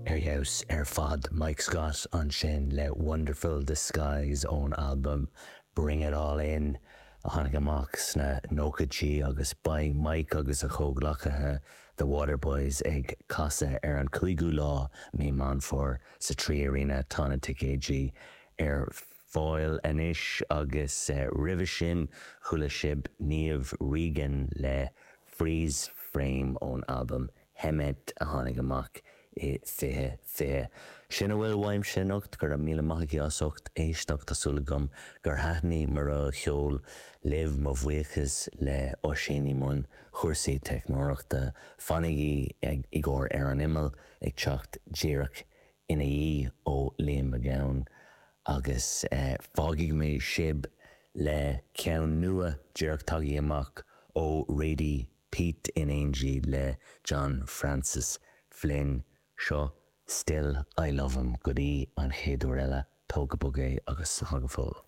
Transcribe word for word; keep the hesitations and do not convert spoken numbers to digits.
Ar fheabhas ar fad Mike Scott ansin le Wonderful Disguise ón albam Bring It All In a tháinig amach sna nóchaidí agus beidh Mike agus a chomhghleacaithe The Waterboys ag casadh ar an cúigiú lá mí Meán Fómhair sa Trí Arena tá na ticéidí ar fáil anois agus eh, roimhe sin chuala sibh Niamh Regan le Freeze Frame ón albam Hemet a tháinig amach i fiche fiche. Sin a bhfuil uaimse anocht go raibh míle maith agaibh as ucht éisteacht tá súil agam gur thaitin mo cheol libh mo bhuíochas le Oisín i mbun chúrsaí teicneolaíochta fanaigí ag i gcóir ar an imeall ag teacht díreach ina dhiaidh ó Liam Mac Gabhann agus eh, fágfaidh mé sibh le ceann nua díreach tagtha amach ó Radie Peat in éindí le John Francis Flynn seo Still I Love Him go dtí an chéad uair eile tóg go bog é agus slán go fóill.